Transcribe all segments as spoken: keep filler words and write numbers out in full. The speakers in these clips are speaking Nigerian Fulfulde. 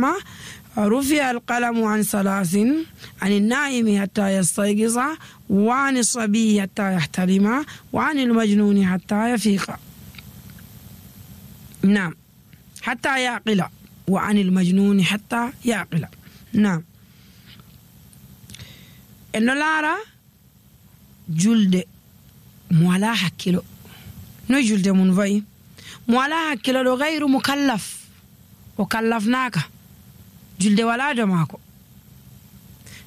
وسلم رفع القلم عن ثلاث عن النائم حتى يستيقظ وعن الصبي حتى يحتلم وعن المجنون حتى يفيق. نعم حتى يعقل وعن المجنون حتى يعقل. نعم إنه لارا جلد مولا حكيلو نو جلد منفي مولا حكيلو غير مكلف وكلفناك جلد ولا دماكو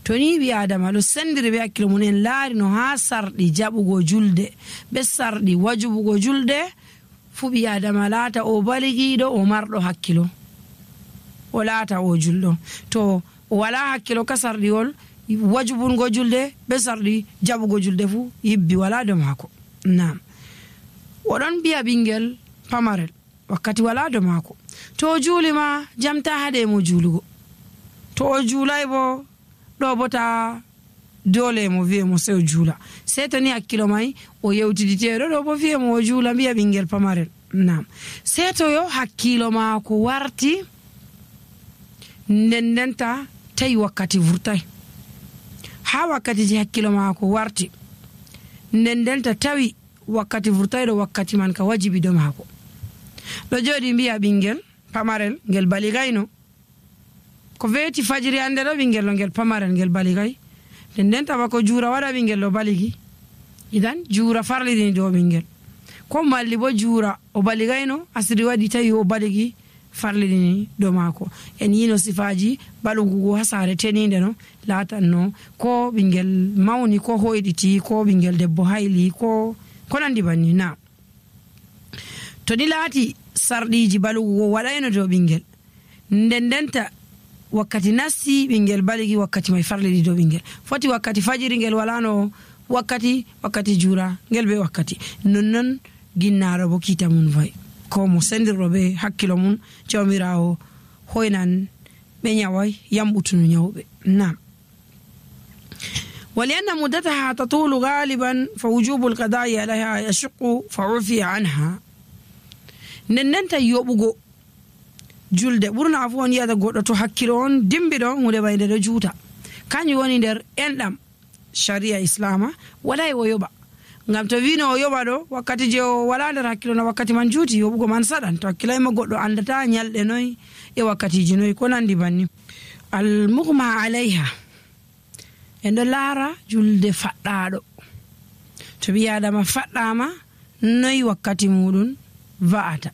toni bi adama lo sendire be hakkilo mun en laari no ha sardi jabugo julde be sardi wajubugo julde fu bi adama laata o baligido o mardo hakkilo o laata o juldo to wala hakkilo ka sardi wol wajubungo julde be sardi jabugo julde fu yibbi wala do mako. Naam wodon biya bingel pamarel wakkati wala do mako to julima jamta hade mo julugo to o julay bo do bota dole mo vie mo sew jula setoni hakkilo mai o yewtiditeedo do bo vie mo jula biya bingel pamarel. Naam seto yo hakkilo mako warti ndendenta tay wakkati vurtay ha wakkati ji hakkilo mako warti ndendenta tawi wakkati vurtay do wakkati man ka wajibi do mako do jodi biya bingel pamarel ngel baligayno ko veti fajiri ande do bingel ngel pamarel ngel baligay ndendenta ba ko jura wada bingel lo baligi idan jura farlidini do bingel ko malli bo jura o baligayno asiri wadi tawi o baligi farlidini do mako en yino sifaji balugo hasare teninde no latanno ko bingel mawni ko hoyditi ko bingel debbo hayli ko ko nandi banni. Na to di lati sardiji balugo wadayno do bingel ndendenta wakkati nasti bingel baligi wakkati may farlidi do bingel foti wakkati fajiri ngel walano wakkati wakkati jura ngel be wakkati nonnon ginnaro bo kita mun fay ko mo sendirobe hakkilo mun jawmirawo hoynan be nyaway yambutunu nyawbe. Naam ولأن مدتها تطول غالبا فوجوب القضاء عليها يشق فعفي عنها نننتا يوبغو julde burna afon yada goddo to hakkilo on dimbido hunde bayde do juuta kanyu woni der endam sharia islama wala e yoba ngam to wino o yoba do wakkati je wala der hakkilo na wakkati man juuti yobugo man sadan to hakkilay ma goddo andata nyalde noy e wakkati ji noy ko nandi banni. al mughma alaiha endo lara julde faddado to biya ma faddama noy wakkati mudun va'ata.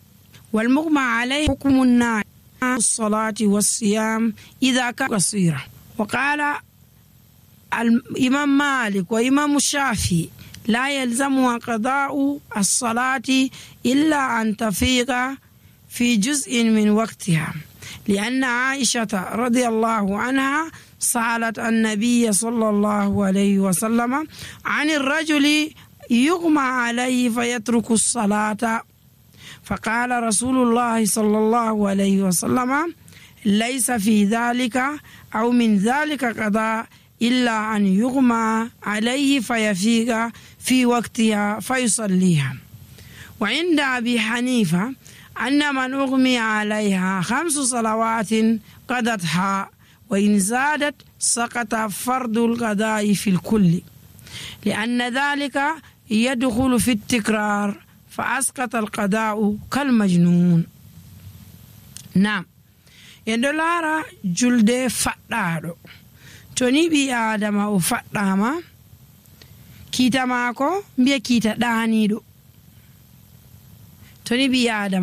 wal mughma alaihi hukmun na الصلاة والصيام إذا كان قصيرا. وقال الإمام مالك وإمام الشافعي لا يلزمها قضاء الصلاة إلا أن تفيق في جزء من وقتها لأن عائشة رضي الله عنها سألت النبي صلى الله عليه وسلم عن الرجل يغمى عليه فيترك الصلاة فقال رسول الله صلى الله عليه وسلم ليس في ذلك أو من ذلك قضاء إلا أن يغمى عليه فيفيق في وقتها فيصليها. وعند أبي حنيفة أن من أغمي عليها خمس صلوات قضتها وإن زادت سقط فرض القضاء في الكل لأن ذلك يدخل في التكرار فأسقط القضاء كالمجنون. نعم يندلارا جلد فدادو توني بي آدم او فداما كيتا ماكو بي كيتا دانيدو توني بي آدم